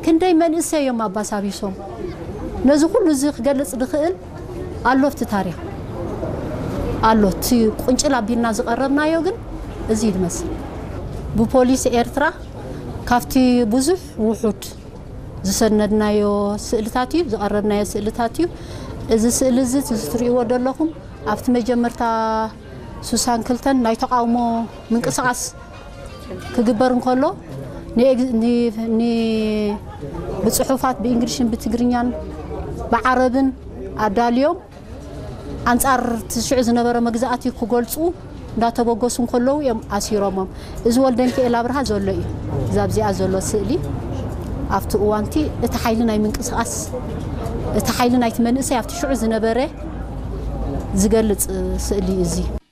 ክንደይ መንእሰይ እዮም ኣባሳቢሶም። ነዚ ኩሉ እዚ ክገልጽ ዝኽእል ኣሎ ኣብቲ ታሪኽ ኣሎ። እቲ ቁንጭል ኣቢልና ዝቐረብናዮ ግን እዚ ይመስል። ብፖሊስ ኤርትራ ካብቲ ብዙሕ ውሑድ ዝሰነድናዮ ስእልታት እዩ፣ ዝቐረብናዮ ስእልታት እዩ። እዚ ስእሊ እዚ እቲ ትርእይዎ ዘለኹም ኣብቲ መጀመርታ ስሳን ክልተን ናይ ተቓውሞ ምንቅስቓስ ክግበር እንከሎ ንኤግ- ን- ን- ብጽሑፋት ብእንግሊሽን ብትግርኛን ብዓረብን ኣዳልዮም ኣንጻር እቲ ሽዑ ዝነበረ መግዛእቲ ክገልጹ እንዳተበገሱ እንከለዉ እዮም ኣሲሮሞም። እዚ ወልደ ሚካኤል ኣብርሃ ዘሎ እዩ። እዛ ኣብዚኣ ዘሎ ስእሊ ኣብቲ እዋንቲ እቲ ሓይሊ ናይ ምንቅስቓስ እቲ ሓይሊ ናይቲ መንእሰይ ኣብቲ ሽዑ ዝነበረ ዝገልጽ ስእሊ እዩ እዚ።